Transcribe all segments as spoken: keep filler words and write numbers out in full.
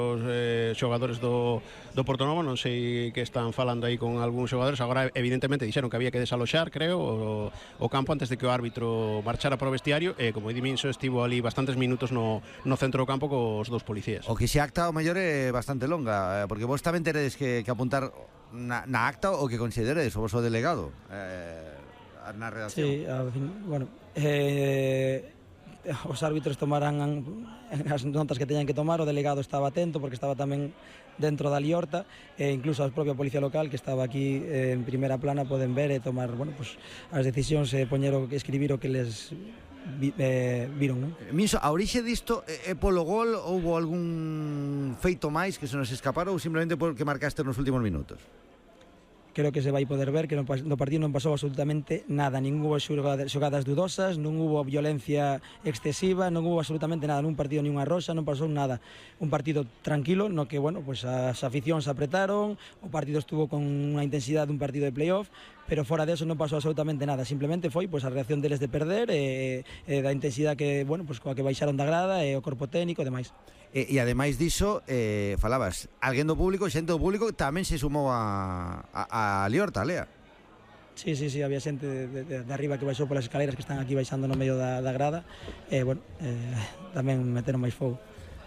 Os eh, xogadores do, do Portonovo, non sei que están falando aí con algúns xogadores. Agora evidentemente dixeron que había que desaloxar, creo, o, o campo antes de que o árbitro marchara para o vestiario, e como di Minso, estivo ali bastantes minutos no, no centro do campo cos dous policías. O que se acta o mellor é bastante longa, porque vos tamén teredes que, que apuntar na, na acta o que consideredes o vosso delegado eh, na redacción. Sí, a, bueno, eh os árbitros tomarán as notas que teñan que tomar. O delegado estaba atento porque estaba tamén dentro da liorta, e incluso a propia policía local que estaba aquí eh, en primeira plana poden ver e tomar, bueno, pues, as decisións e poñer o, escribir o que les vi, eh, viron, non? Minso, a orixe disto é polo gol, houbo algún feito máis que se nos escapara ou simplemente porque marcaste nos últimos minutos? Creo que se vai poder ver que no, no partido non pasou absolutamente nada, nin hubo xogadas, xogadas dudosas, non hubo violencia excesiva, non hubo absolutamente nada nun partido, ni unha rosa, non pasou nada. Un partido tranquilo no que, bueno, pues as aficións apretaron, o partido estuvo con unha intensidade dun partido de playoff, pero fora de eso non pasou absolutamente nada, simplemente foi pues a reacción deles de perder e, e da intensidade que, bueno, pues coa que baixaron da grada e o corpo técnico e demais. E, e ademais diso, eh, falabas, alguén do público, xente do público tamén se sumou a, a, a liorta, Lea. Sí, sí, sí, había xente de, de, de arriba que baixou polas escaleras que están aquí baixando no medio da, da grada, e, bueno, eh, tamén meteron máis fogo.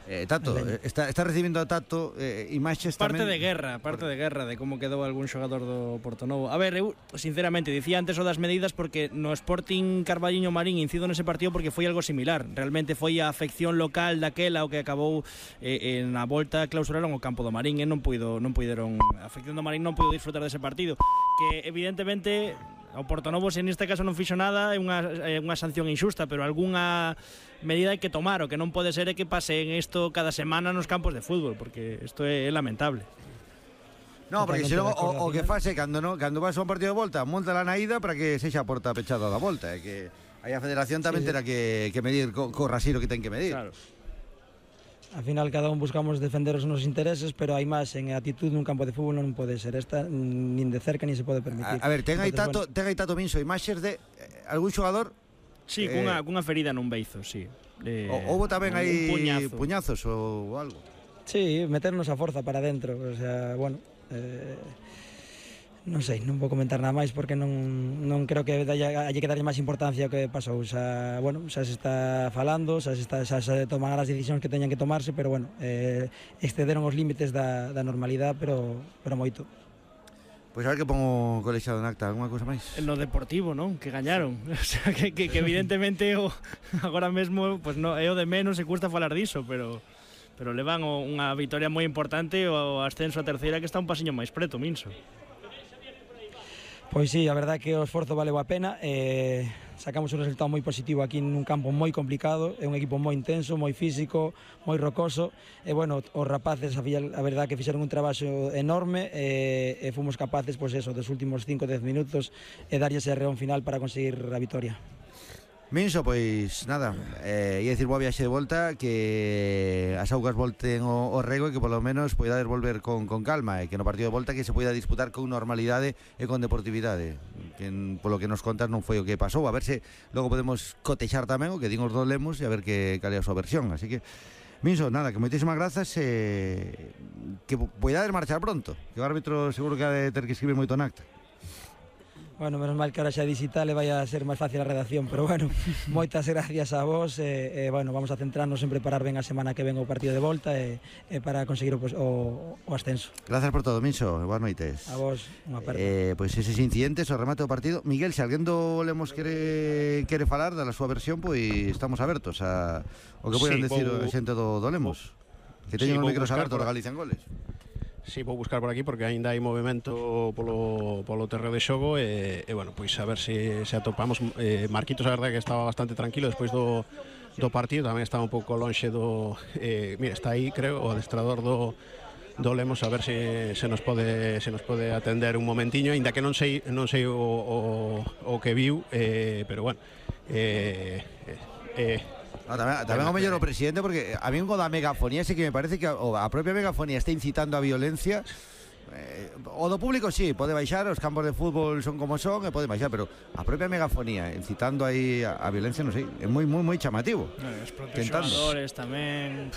Eh, Tato, está, está recibindo a Tato eh, imaxes parte tamén... de guerra, parte de guerra de como quedou algún xogador do Portonovo. A ver, eu sinceramente dicía antes o das medidas porque no Sporting Carballiño Marín incido nese partido porque foi algo similar. Realmente foi a afección local daquela o que acabou eh, na volta clausuraron o campo do Marín e non puido, non puideron, a afección do Marín non puido disfrutar dese partido, que evidentemente o Portonovo, se neste caso non fixo nada, é unha, é unha sanción injusta, pero algunha medida hai que tomar. O que non pode ser é que pase en isto cada semana nos campos de fútbol, porque isto é, é lamentable. No, porque se logo o, o que fase cando no, cando vas a un partido de volta, monta la na ida para que sexa a porta pechada da volta, é que aí a federación tamén sí, terá que, que medir co, co rasiro que ten que medir. Claro. Al final cada un buscamos defender os nosos intereses, pero hai máis en actitud nun campo de fútbol non pode ser esta nin de cerca nin se pode permitir. A, a ver, ten aí Tato, bueno. ten aí Tato Minso imaxes de eh, algún xogador. Sí, eh, cunha cunha ferida nun beizo, sí. Eh, houbo tamén aí puñazo. puñazos ou algo. Sí, meternos a forza para dentro, o sea, bueno, eh, non sei, non vou comentar nada máis porque non, non creo que haya, haya que darlle máis importancia ao que pasou. Xa, bueno, xa se está falando, xa se, está, xa se toman as decisións que teñan que tomarse, pero bueno, eh, excederon os límites da, da normalidade, pero, pero moito. Pois pues a ver que pongo colexiado en acta, alguna cousa máis? No Deportivo, non? Que gañaron. O sea, que, que, que evidentemente o, agora mesmo pues no, é o de menos e custa falar diso, pero pero levan unha vitoria moi importante, o ascenso a terceira que está un pasiño máis preto, Minso. Pois sí, a verdade que o esforzo valeu a pena, eh, sacamos un resultado moi positivo aquí nun campo moi complicado, é un equipo moi intenso, moi físico, moi rocoso, e bueno, os rapaces a, a verdade que fixeron un traballo enorme e, e fomos capaces, pois eso, dos últimos cinco a dez minutos e darlle ese reón final para conseguir a vitoria. Minso, pois nada, eh, ia dicir boa viaxe de volta, que as augas volten o, o rego e que polo menos poidades volver con, con calma, e que no partido de volta que se poida disputar con normalidade e con deportividade, que polo que nos contas non foi o que pasou. A ver se logo podemos cotexar tamén o que din os dos lemos e a ver que cal é a súa versión. Así que Minso, nada, que moitísimas grazas e que poidades marchar pronto, que o árbitro seguro que ha de ter que escribir moito en acta. Bueno, menos mal que ahora xa é digital e vai a ser máis fácil a redacción, pero bueno, moitas gracias a vos e, e bueno, vamos a centrarnos en preparar ben a semana que ven o partido de volta e, e para conseguir o, o, o ascenso. Gracias por todo, Minso, boas noites. A vos, unha aperta. Eh, pois eses incidentes, o remate do partido. Miguel, se alguén do Lemos quere, quere falar da súa versión, pois estamos abertos a o que poden sí, decir a xente do, do Lemos. Que teñen sí, os micros abertos de Galicia en Goles. Si, sí, vou buscar por aquí porque aínda hai movimento polo, polo terreo de xogo e, e bueno, pois a ver se, se atopamos eh, Marquitos, a verdade que estaba bastante tranquilo despois do, do partido, tamén estaba un pouco lonxe do eh, mira, está aí, creo, o adestrador do do Lemos, a ver se, se nos pode se nos pode atender un momentiño, aínda que non sei non sei o, o, o que viu, eh, pero bueno eh, eh, No, tamén, tamén o mellor o presidente, porque a mí o da megafonía sí que me parece que a, a propia megafonía está incitando a violencia. eh, o do público sí, pode baixar, os campos de fútbol son como son e pode baixar, pero a propia megafonía incitando aí a, a violencia, non sei, é moi moi moi chamativo. No, os propios xogadores tamén.